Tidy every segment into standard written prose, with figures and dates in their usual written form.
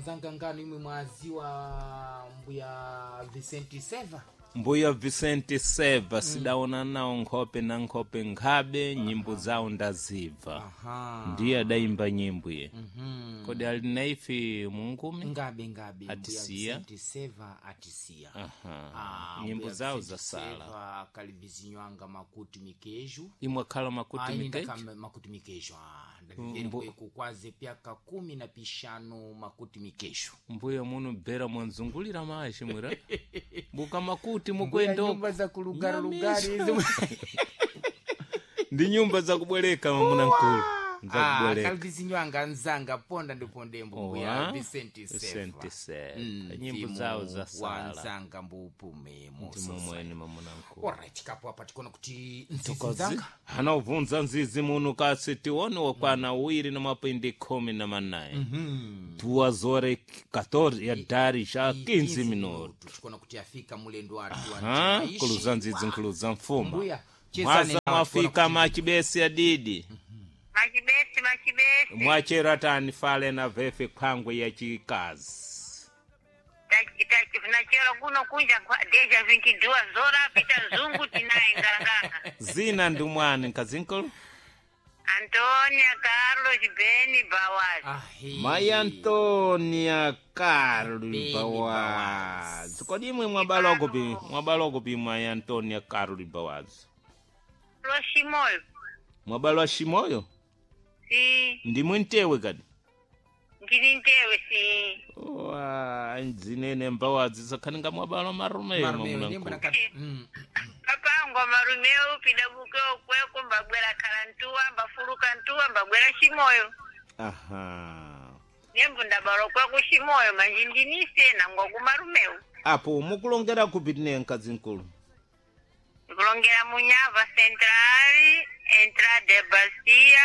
Anzanga ngano imwe mwaziwa mbuya Vicente Seva. Mbuya Vicente Seva sidaona nawo nkhope na nkhope nkhabe, nyimbo zawo ndazibva. Aha. Ndiye adayimba nyimbo iye. Kodi ali naife mungumi? Ngabe ngabe mbuya Atisiya. Vicente Seva atisiya. Aha. Ah, Nyimbo mbuya zawo Vicente zasala. Seva kalibizinywanga makuti mikeju. Imwe akhala makuti Ah, ine mikeju. ndakamba makuti mikeju. Ah, ndaviveri kweku kwaze pyaka 15 makuti mikeju. Mbuya muno bhera mwanzungulira mashi mwira. Buka makuti Mbuya mukwendo. nyumba za kulugari lugari izi. Ndi nyumba zakubwereka mamuna nkulu. Ah, Zakubwereka. kalibizinywanga nzanga ponda ndipondembo mbuya Owa. Vicente Seva. Vicente Seva. Nyimbo Mzimu zawo wa zasala. nzanga mbupume Ndimo mwene mamuna nkulu. Alright, kapo apa tikuona kuti nzizi nzanga Anaubvunza nzizi muno kasi tione wakwana uwiri na mapindi 18. 2:14 ya dari xa 15 minuto. Tikuona kuti afika mulendo watu Ha? Nkuluza nzizi nkuluza mfuma. Mbuya, chezani Mwaza nawo, mwafika tikuona kuti- machibesi adidi. Machibesi, machibesi. Mwachera tani fale na vefe khwangwe ya chikazi. Nachero kuno kunja deja 22 zora pita zungu tinaye ngalanganga. Zina ndi mwani nkazinkulu? Antonia Carlos Beni Bawaz. Ahe. Mai Antonia Carlos Beni Bawazi. Kodi imwe mwabaloko pi? Mwabaloko pi mai Antonia Carlos Bawazi? Lo Shimoyo. Mwabalwa Shimoyo? Si Ndimwe ntewe kadi? ndini ntewe si. Wa ndzinene mbawazi zakhaninga mwabalwa marumeyo Marumeyo, mamuna ndimbo nkulu. Papangwa marumeo pida bukeo kweko mbabwera kalantua mbafuluka ntua mbabwera Shimoyo. Aha. Nembo ndabalo kweko Shimoyo manje ndinise nangwa kumarumeo. Apo mukulongera kupi tine nkazinkulu? Ndikulongera Munyava Central, Entrada de Bacia,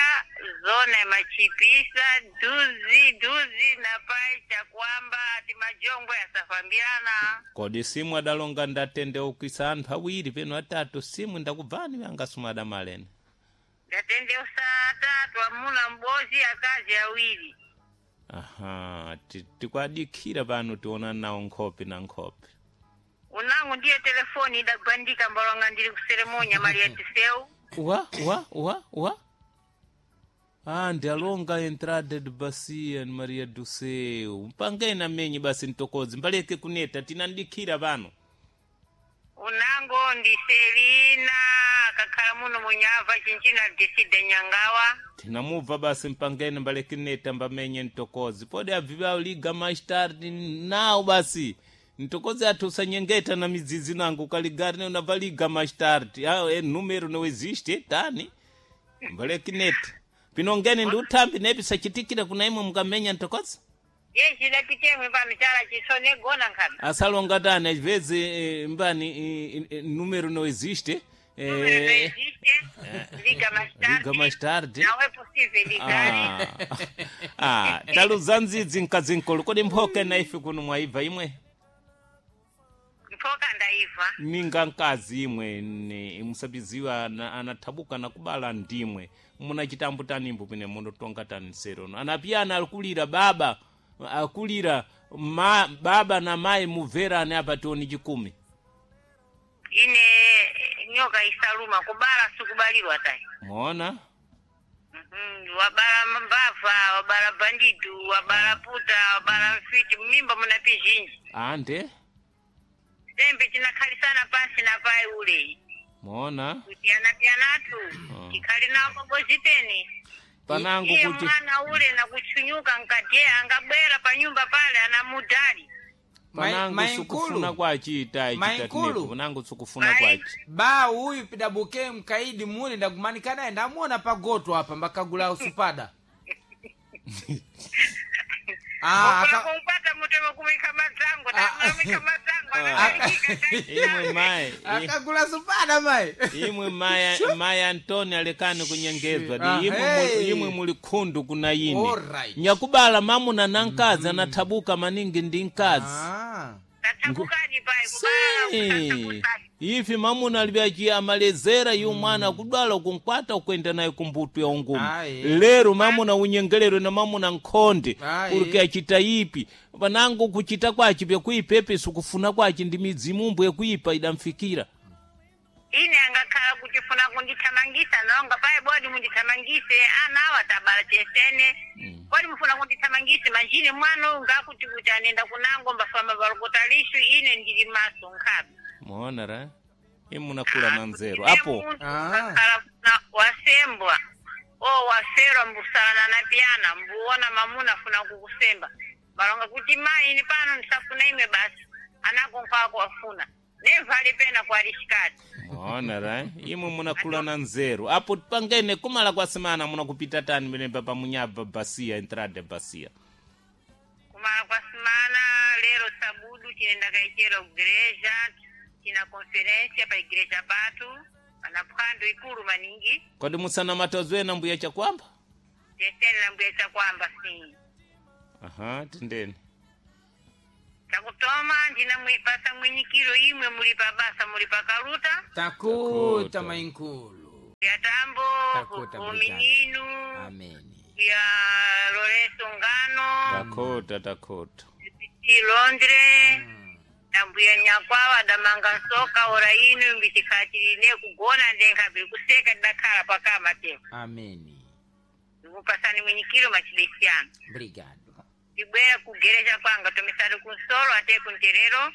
zona ya Machipisa, duzi duzi na pai chakwamba ati majongwe yasafambirana. Kodi simu adalonga ndatende ukisa anthu awiri peno atatu simu ndakubvani vanga simu adamalene. Ndatende usatatu amuna mbozi akazi awiri. Aha, tikwadikira pano tiona nawo nkhope na nkhope. Unangu ndiye telefoni idagwandika mbalonga ndili kuseremonya Maria Tiseu. Wa wa wa wa. Ah, ndialonga entrada de Bacia ni Maria do Céu. Mpangeni amenyi basi ntokozi mbaleke kuneta tinandikira pano. Unango ndi Selina akakhala muno Munyava chinchina decide Nyangawa. Tinamubva basi mpangeni mbaleke neta mbamenye ntokozi. Pode abviva liga mais tarde nawo basi. Ntokozi athu usanyengeta na midzidzi nangu ukaligari ne unabva liga mais tarde. Ah, é número não existe, tani. Mbaleke neta. Pinongeni ndi uthambi nepi sachitikira kuna imwe mukamenya ntokozi. Yeshi dapitemwe pano chala chisone gona nkhabe. Asalonga tani às vezes mbani número não existe. Número não existe. Liga mais tarde. Liga mais tarde. Não é possível ligar. Ah, ah, taluza ndzidzi nkazinkulu kodi mphoka na ife kuno mwaibva imwe Mphoka ndaiva. ninga nkazi imwe ni musabiziwa anathabuka nakubala ndimwe muna chitambo tanimbo pene munotonga tani serono anapiyana akulira baba akulira ma, baba na mayi mubverane apa tioni chikumi Ine nyoka isaluma kubala sikubalirwa tayi. mona Wabala mbava, wabala bandidu, wabala puta, wabala mfiti, mimba muna pizhinji. ande Sembe chinakhalisana pansi na pai ule. mona Kutiyana-tiyanatu. Tikhali nawo paboziteni. panangu Iye kuti mwana ule nakuchunyuka nkadye angabwera pa nyumba pale anamudali. panangu Mai- sikufuna Mainkulu. kwachi Mainkulu. itachi panangu sikufuna kwachi Ba uyu pidabuke mkaidi mule ndakumanika naye ndamuona pagoto apa mbakagula usupada. Ah, Okula aka, kumpata mutemo kumika matango, Ah. namika matango, anakalikika imwe mayi akagula supada mai. imwe maya maya Antoni alekani kunyengezwa Ah, di imwe, hey. imwe muli khundu kuna yini Alright. nyakubala mamuna na nkazi anathabuka maningi ndi nkazi Ah. Tatabukadi pai Si. kubala. Ifi mamuna alivyaci amalezera yu mwana kudwala kunkwata ukwenda naye kumbutu ya ungumu. Aye. Lero mamuna unyengelero na mamuna nkhonde Aye. uri achita ipi panango kuchita kwachi vyakuipepe sikufuna kwachi ndi midzimu yekuipa idamfikira. Ine angakhala kutifuna kundithamangisa nonga paye bodi mundithamangise ana awa tabala chesene kodi mufuna kundithamangise manjini mwana uyu ngakuti kuti anenda kunango mbafamba balokota lishu ine ndili maso nkhabe. Muona ra imunakula na nzeru apo. Akhala wasembwa o waferwa mbusalana na piyana mbuona mamuna afuna kukusemba balonga kuti mayi ini pano ndisafuna ime basi anako nkwako wafuna nevali pena kwalishikati. Muona ra imwe munakula na nzeru apo pangene kumala kwa semana munakupita tani menemba pamunyaba basia entrada basia. Kumala kwa semana lero sabudu tinenda kaikera igreja tina conferência pa igreja patu pana phwando ikulu maningi. Kodi musana matozwena mbuya chakwamba. Tesene na mbuya chakwamba sim. Aha, tendeni. Chakutoma ndina mwipasa mwinyikiro imwe muli pa basa muli pa kaluta. Takuta mainkulu. Ya tambo Takuta, kumininu. Ameni. Ya Lorenzo Ngano. Takota takota. Ti Londres. Na mbuya nyakwawa damanga nsoka ora inu mbitikhatirine kugona ndenkha biri kuseka dakhala pakama te. Ameni. Ndikupasani mwinyikiro machibesiyano. Obrigado. Ndibwera kugereja kwanga tomisari kunsolo ate kunterero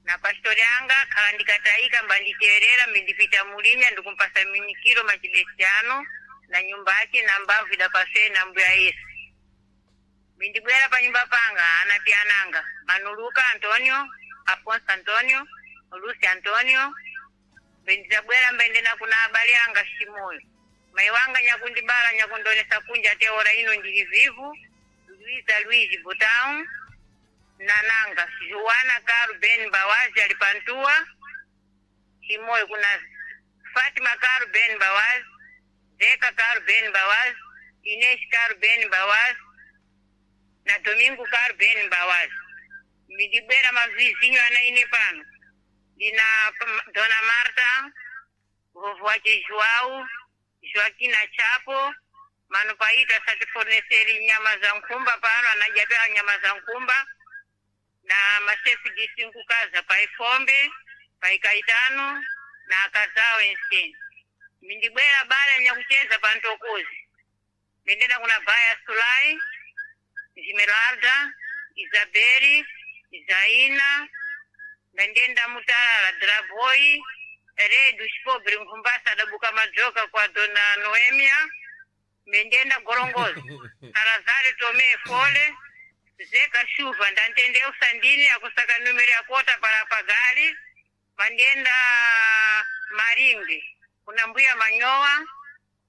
na pastori anga khala ndikatayika mbanditerera mindipita mulinya ndikumpasa minyikiro machibesiyano na nyumba ake na mbavu idapaswe na mbuya Yesu. Mindibwera pa nyumba panga anapiananga Manuluka Antonio, Afonso Antonio, Lucy Antonio. Mbendizabwera mbendena kuna abale anga Shimoyo. Mai wanga nyakundibala nyakundonesa kunja te ora ino ndili vivu. Luiza Luizi Butão Nananga Joana Caro Ben Bawazi alipantua Chimoyo kuna Fatima Caro Ben Bawazi, Zeca Caro Ben Bawazi, Inês Caro Ben Bawazi na Domingo Caro Ben Bawazi. Midibwera mavizinho ana ine pano ndina Dona Marta, vovó wache João, Joaquina Chapo, mano paita satiforneseri nyama za nkhumba pano anajapela nyama za nkhumba na masefu disinkukaza paifombe paikaitano na akazawo enseni. Mindibwera bala nyakucheza pantokozi mindenda kuna baya Sulai, Esmeralda, Isabeli, Zaina, ndendenda mutalala Draboi, Redu Chipobre Nkhumbasa adabuka madzoka kwa Dona Noemia, mendenda Gorongozi, Salazar Tomé Fole, Zeka Shuva, ndantende usandini akusaka numero ya kota para pagali, mandenda Maringe, kuna mbuya Manyowa,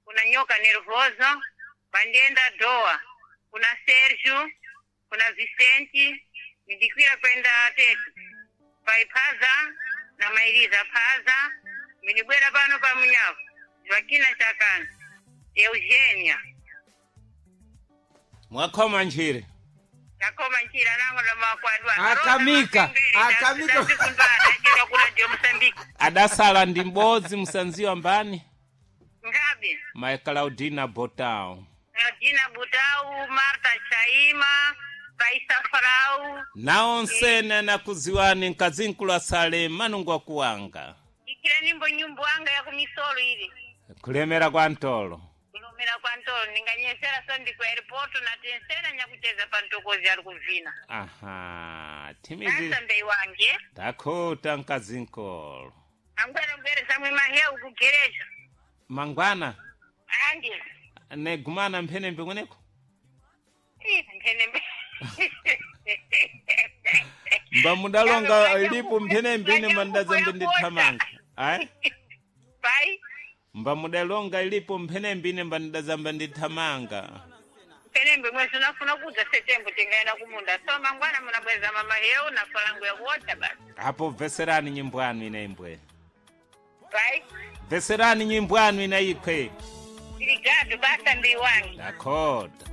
kuna nyoka Nervoso, mandenda Doa, kuna Sergio, kuna Vicente, mindikwira kwenda tetu paiphaza na mairiza phaza minibwera pano pa munyavu Joaquina Chakana Eugenia. Mwakhoma nchire. Takoma nchira nango lomakwadwa. Akamika, akamika. Akamika kula Mosambiki. Adasala ndi m'bodzi musanziwa mbani Ngabe Mai Claudina Botao. Dina Butau, Marta Chaima, Paisa Frau. Nawo nsene anakuziwani mkazinkulu asale manungu akuwanga. Ikira nimbo nyumbu anga ya kumisolo ili. Kulemera kwa ntolo. Kulumira kwa ntolo ninganyesera sondi ku airport na tensera nyakucheza pa ntokozi ali kuvina. Aha, timizi. Sasa mbei wange. Takota mkazinkulu. Angwera mbere samwe maheu kugereja. Mangwana Andi. negumana mphenembe kweneko. Mphenembe. Mbamudalonga ilipo mphenembe ine mandazambe ndithamanga. Ayi? Pai. Mbamudalonga ilipo mphenembe ine mbandazamba ndithamanga. Mphenembe mwezi unafuna kudza setembo tingaenda kumunda. So mangwana munabweza mama heu na falangu ya kuota basi. Apo veserani nyimbo anu ina imbwe. Pai. Veserani nyimbo anu ina ikwe. Obrigado, basta mbei wange. Dakota.